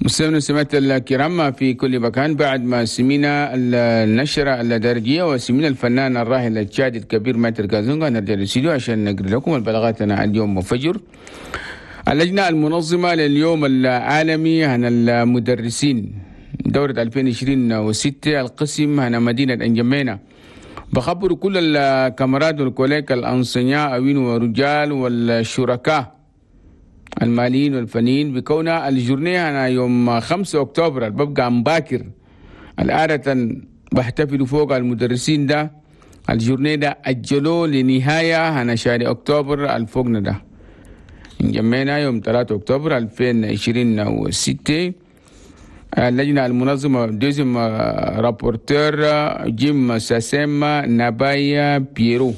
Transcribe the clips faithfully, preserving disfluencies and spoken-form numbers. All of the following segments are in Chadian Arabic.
مستمعينا ومستمعات الكرام في كل مكان، بعد ما سمينا النشرة الدارجية وسمينا الفنان الراحل التشادي الكبير maître كازونغا، نرجع للاستديو عشان نقرأ لكم البلاغات اليوم فجر. اللجنة المنظمة لليوم العالمي عن المدرسين دورة ألفين وعشرين وستة، القسم هنا مدينة أنجمينا، بخبروا كل ال camarades وال collègues ال enseignants أوين ورجال والشركاء الماليين والفنيين بكون ال journée هنا يوم خمسة أكتوبر ببقى مباكر، العادة بحتفلوا فوق المدرسين ده، ال journée ده أجلوه لنهاية هنا شهر أكتوبر الفوقنا ده. انجمينا يوم ثلاثة أكتوبر ألفين وعشرين وستة. اللجنة المنظمة، deuxième rapporteur جيم ساسيما نابايا بيرو.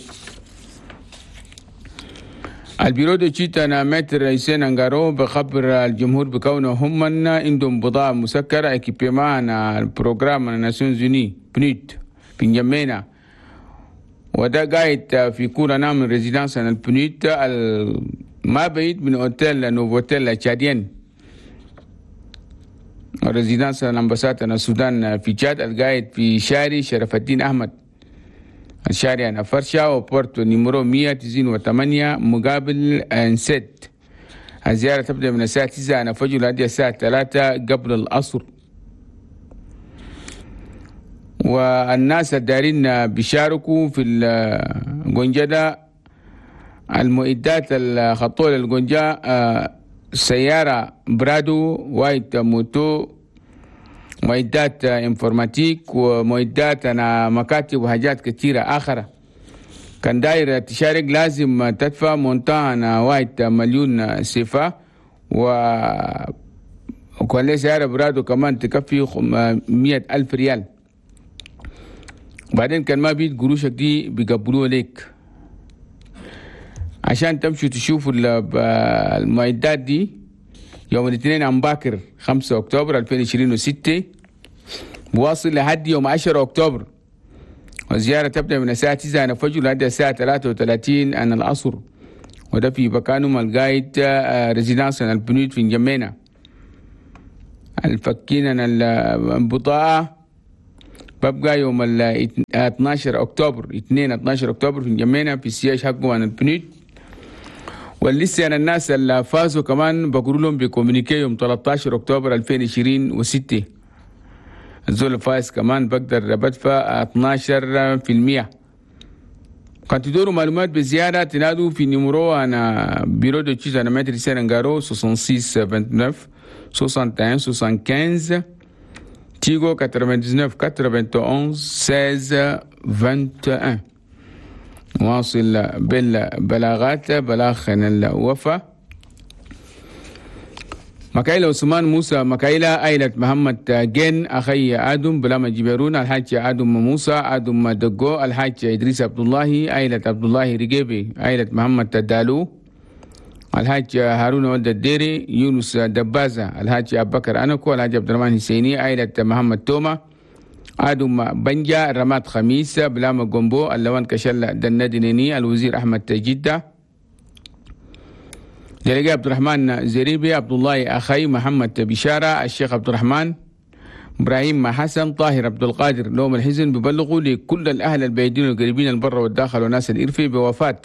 ال bureau d'études هنا maître حسين انغارو بخبر الجمهور بكونه هم عندهم بضاعة مسكرة، équipement ال programme Nations Unies PNUD في انجمينا، وده قاعد في cour هنا من résidence ال PNUD، ما بعيد من hôtel Novotel tchadien، résidence l'ambassade السودان في تشاد، القاعد في شارع شرف الدين أحمد، الشارع هنا فرشة و porte numéro مية وتسعين وثمانية مقابل انسد. الزيارة تبدأ من الساعة تسعة هنا فجر لحد الساعة ثلاثة قبل العصر. والناس الدارين بيشاركوا في القنجة، المعدات الخطوة للقنجة سيارة برادو، وايت moto، معدات informatique ومعدات هنا مكاتب وحاجات كثيرة آخرى. كان داير تشارك لازم تدفع montant هنا واحد مليون سيفا، و وكان سيارة برادو كمان تكفي مية ألف ريال. بعدين كان ما بيت قروشك دي بيقبلوها لك. عشان تمشوا تشوفوا المعدات دي يوم الاثنين عم باكر خمسة أكتوبر ألفين وعشرين وستة، بواصل لحد يوم عشرة أكتوبر، والزيارة تبدأ من الساعة تسعة الفجر لحد الساعة ثلاثة وثلاثين عن العصر، وده في مكانهم القايد résidence ال PNUD في انجمينا. الفكين البضاعة ببقى يوم ال اثنا عشر اكتوبر، اثنين اثنا عشر اكتوبر في انجمينا في ال siège حقه عن ال PNUD. ولسه أنا الناس اللي فازوا كمان بقولوا لهم ب communiqué يوم ثلاثة عشر اكتوبر ألفين وعشرين وستة. الزول الفايز كمان بقدر بدفع اثنا عشر في المية. كان تدوروا معلومات بزيادة تنادوا في numéro هنا bureau d'études هنا maître سيرنغارو ستة وستين تسعة وعشرين واحد وستين خمسة وسبعين، تيغو تسعة وتسعين واحد وتسعين ستة عشر واحد وعشرين. واصل بالبلاغات، بلاغ الوفاة: مكايلة عثمان موسى مكايلة، عائلة محمد جين، أخي آدم بلاما جبرون، الحاج آدم موسى، آدم دقو، الحاج إدريس عبد الله، عائلة عبد الله رجيبي، عائلة محمد دالو، الحاج هارون ولد الديري، يونس دبازة، الحاج أبو بكر أنكو، الحاج عبد الرحمن حسيني، عائلة محمد توما، آدم بنجا، رماد خميس، بلاما جومبو، اللوان كشل دندنيني، الوزير أحمد جدة، délégué عبد الرحمن زريبي، عبد الله أخي، محمد بشارة، الشيخ عبد الرحمن، ابراهيم حسن، طاهر عبد القادر. لوم الحزن ببلغوا لكل الاهل البعيدين والقريبين، البر والداخل وناس الإرفي، بوفاة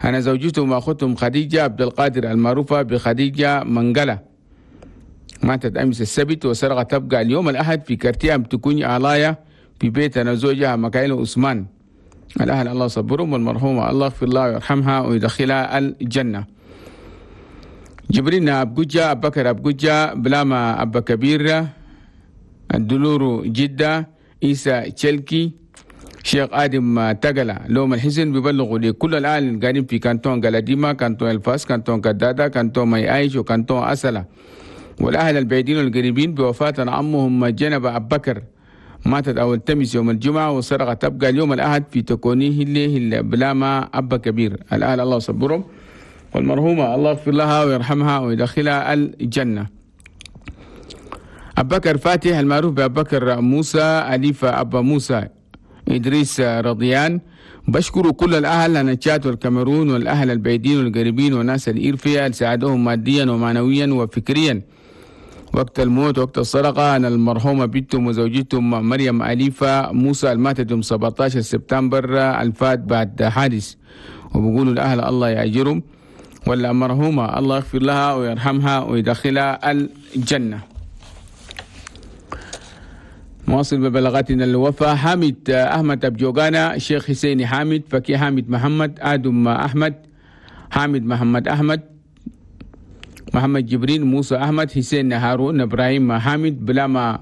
هنا زوجتهم واخوتهم خديجة عبد القادر المعروفة بخديجة منقلة، ماتت أمس السبت، وسرقة تبقى اليوم الأحد في quartier تكون علايا في بيت هنا زوجها مكايل عثمان. الأهل الله صبرهم، والمرحومة الله يغفر لها ويرحمها ويدخلها الجنة. جبرين أبجوجة، أبكر أبجوجة، بلاما أبا كبير، الدلورو جدة، إيسا تشلكي، شيخ آدم تقلة. لوم الحزن بيبلغوا لكل الأهل القاعدين في canton قلاديما، canton الفاس، canton كدادة، canton ماي آيش و canton أسلة، والأهل البعيدين والقريبين بوفاة عمهم جنب أبو بكر، ماتت أول تمس يوم الجمعة، وسرقة تبقى اليوم الأحد في تكونيه اللي بلاما أبا كبير. الأهل الله صبرهم، والمرحومة الله يغفر لها ويرحمها ويدخلها الجنة. أبو بكر فاتح المعروف بأبو بكر موسى، أليفة أبا موسى، إدريس رضيان، بشكر كل الأهل هنا تشاد والكاميرون والأهل البعيدين والقريبين وناس الإرفيا اللي ساعدوهم ماديا ومعنويا وفكريا. وقت الموت وقت السرقة عن المرحومة بنتهم وزوجتهم مريم أليفة موسى الماتت يوم سبعتاشر سبتمبر الفات بعد حادث، وبقولوا الأهل الله يأجرهم، ولا مرحومة الله يغفر لها ويرحمها ويدخلها الجنة. نواصل ببلاغاتنا الوفاة. حامد أحمد أبجوغانا، الشيخ حسيني حامد، فكي حامد محمد، آدم أحمد، حامد محمد أحمد، محمد جبرين، موسى أحمد، حسين هارون، إبراهيم حامد، بلاما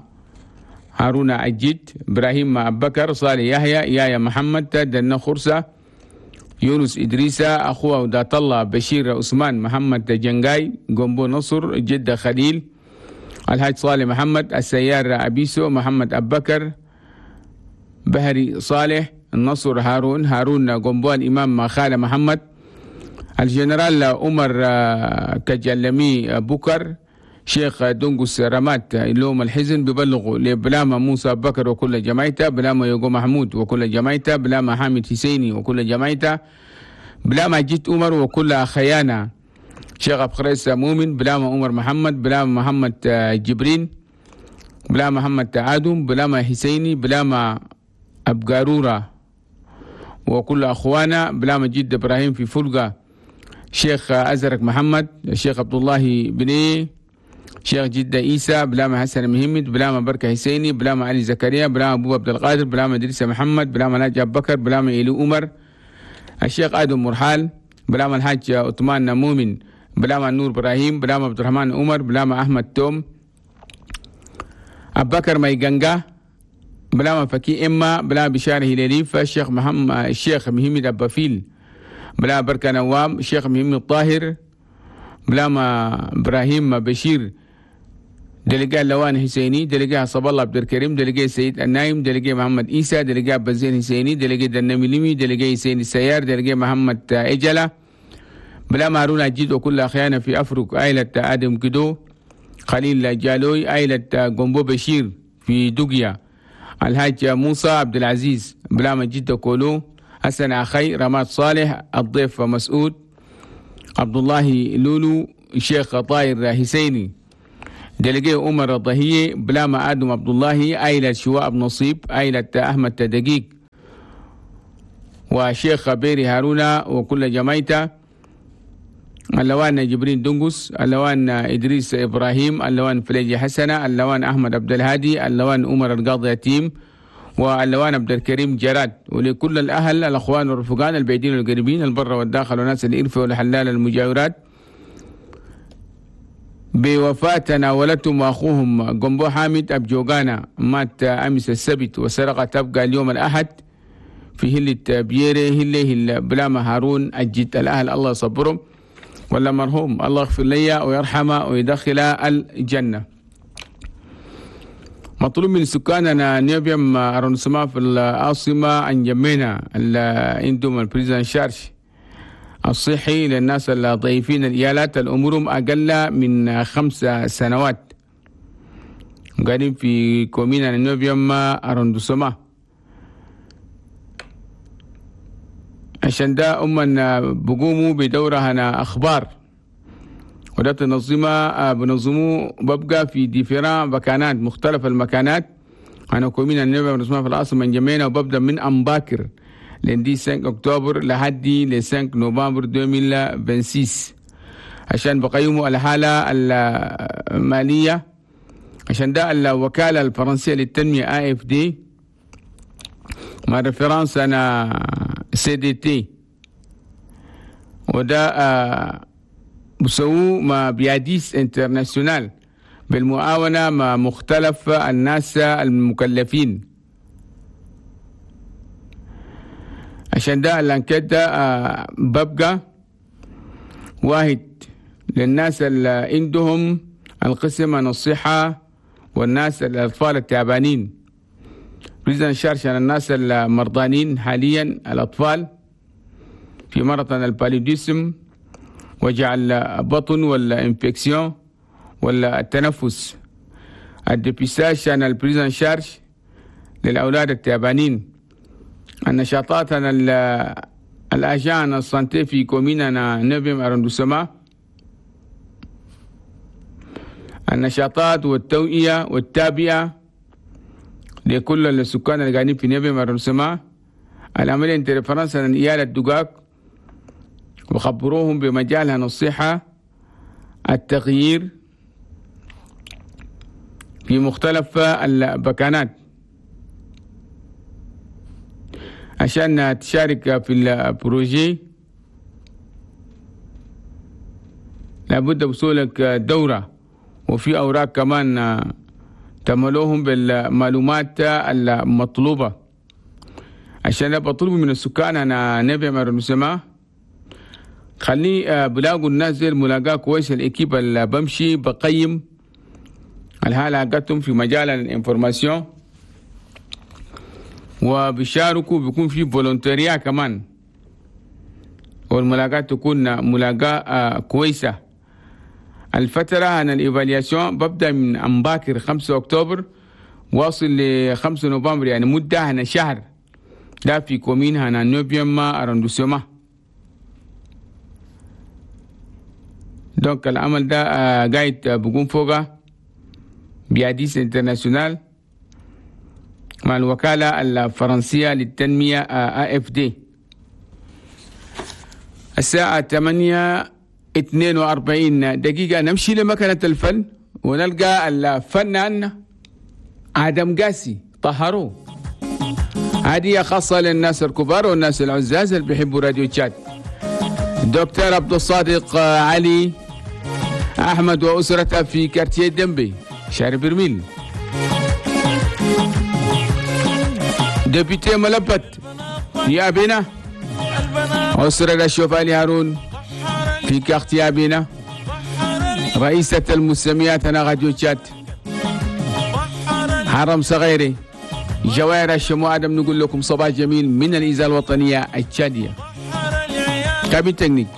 هارون أجيد، إبراهيم أبكر، صالح يحيى، يايا محمد، دنا خرسة، يونس إدريسة، أخوه ودات الله، بشير عثمان، محمد جنجاي، جنبو نصر، جدة خليل، الحاج صالح محمد، السيار أبيسو، محمد أبكر، بهري صالح، النصر هارون، هارون جنبو، الإمام خالة محمد، الجنرال عمر كجلمي بكر، شيخ دونجوس رمات. لوم الحزن ببلغوا لبلاما موسى بكر وكل جماعته، بلاما يوغو محمود وكل جماعته، بلاما حامد حسيني وكل جماعته، بلاما جيت عمر وكل خيانة، شيخ أبخريس مؤمن، بلاما عمر محمد، بلاما محمد جبرين، بلاما محمد تعادم، بلاما حسيني، بلاما أبقارورة وكل أخوانا، بلاما جد إبراهيم في فلقة، شيخ أزرق محمد، الشيخ عبد الله بني، شيخ جدة إيسى، بلاما حسن مهمد، بلاما بركة حسيني، بلاما علي زكريا، بلاما أبو عبد القادر، بلاما إدريس محمد، بلاما ناجي أبو بكر، بلاما إيلو عمر، الشيخ آدم مرحال، بلاما الحاج عثمان مؤمن، بلاما نور إبراهيم، بلاما عبد الرحمن عمر، بلاما أحمد توم، أبو بكر ميغانجا، بلاما فكي إما، بلاما بشار هلاليف، الشيخ محمد الشيخ مهمد أبافيل، بلا بركة نوام، الشيخ مهم الطاهر، بلاما إبراهيم بشير، دلقاء لوان حسيني، دلقاء صب الله عبد الكريم، دلقاء سيد النايم، دلقاء محمد إيسى، دلقاء بزين حسيني، دلقاء دنمي، دلقاء حسين السيار، دلقاء محمد إجلة، بلاما هارون أجيد وكل أخيانا في أفرق، عائلة آدم كدو، خليل جالوي، عائلة جنبو بشير في دوغيا، الحاج موسى عبد العزيز، بلاما جدة كولو، حسن أخي، رماد صالح، الضيف مسعود، عبد الله لولو، الشيخ طاير حسيني، دلقي عمر الضهية، بلاما آدم عبد الله، عائلة شواء نصيب، عائلة أحمد تدقيق، وشيخ بيري هارون وكل جماعته، اللوان جبرين دنقس، اللوان إدريس إبراهيم، اللوان فليجي حسنة، اللوان أحمد عبد الهادي، اللوان عمر القاضي يتيم، واللوان عبد الكريم جراد، ولكل الأهل الأخوان والرفقان البعيدين والقريبين، البر والداخل وناس الإرفة والحلال المجاورات، بوفاة تناولتهم وأخوهم جنبو حامد أبجوغانا، مات أمس السبت وسرقة تبقى اليوم الأحد في هلة بيري هلة هلة بلاما هارون أجد. الأهل الله يصبرهم، ولا مرحوم الله يغفر لي ويرحمه ويدخل الجنة. مطلوب من سكاننا neuvième arrondissement في العاصمة أنجمينا عندهم ال prise en charge الصحي للناس الضعيفين الإيالات الأمورهم أقل من خمس سنوات، قاعدين في commune neuvième arrondissement. عشان ده أمنا بقوموا بدورها أنا أخبار، وده تنظيمه بنظموه ببقى في différents مكانات، مختلف المكانات. أنا commune neuvième arrondissement في العاصمة انجمينا، وببدأ من أمباكر lundi خمسة أكتوبر لحد ل خمسة نوفمبر ألفين وستة وعشرين، عشان بقيموا الحالة المالية. عشان ده الوكالة الفرنسية للتنمية A F D مع référence أنا C D T، وده بسووه مع بياديس International بالمعاونة مع مختلف الناس المكلفين. عشان ده ال enquête ده ببقى واحد للناس اللي عندهم القسم عن الصحة والناس الأطفال التعبانين، prise en charge عن الناس المرضانين حاليا الأطفال في مرض ال paludisme، وجع البطن ولا infection ولا التنفس، ال dépistage عن ال prise en charge للأولاد التعبانين، النشاطات عن ال agents ال santé في commune neuvième arrondissement، النشاطات والتوعية والتابعة لكل السكان اللي قاعدين في neuvième arrondissement. العملية interférence عيال الدقاق وخبروهم بمجالها الصحة، التغيير في مختلف البكانات عشان تشارك في ال projet. لابد وصولك دورة، وفي أوراق كمان تملوهم بالمعلومات المطلوبة. عشان بطلب من السكان أنا neuvième arrondissement خلي بلاقوا الناس زي الملاقاة كويس. ال équipe اللي بمشي بقيم الحالة حقتهم في مجال ال information وبيشاركوا، بيكون في volontariat كمان، والملاقاة تكون ملاقاة كويسة. الفترة عن ال évaluation ببدأ من أمباكر خمسة أكتوبر واصل ل خمسة نوفمبر، يعني مدة هنا شهر ده في commune هنا neuvième arrondissement. donc العمل ده قاعد بقوم فوقه BIADIS International مع الوكالة الفرنسية للتنمية AFD. الساعة ثمانية اثنين وأربعين دقيقة نمشي لمكنة الفن ونلقى الفنان آدم قاسي طهروه. هدية خاصة للناس الكبار والناس العزاز اللي بيحبوا راديو تشاد. دكتور عبد الصادق علي أحمد وأسرته في quartier دمبي شارع برميل. député ملبت في أبينا، أسرة الشوفاني هارون في quartier أبينا. رئيسة المسميات أنا راديو تشاد حرم صغيري جوائر الشمو آدم. نقول لكم صباح جميل من الإذاعة الوطنية التشادية. cabine technique.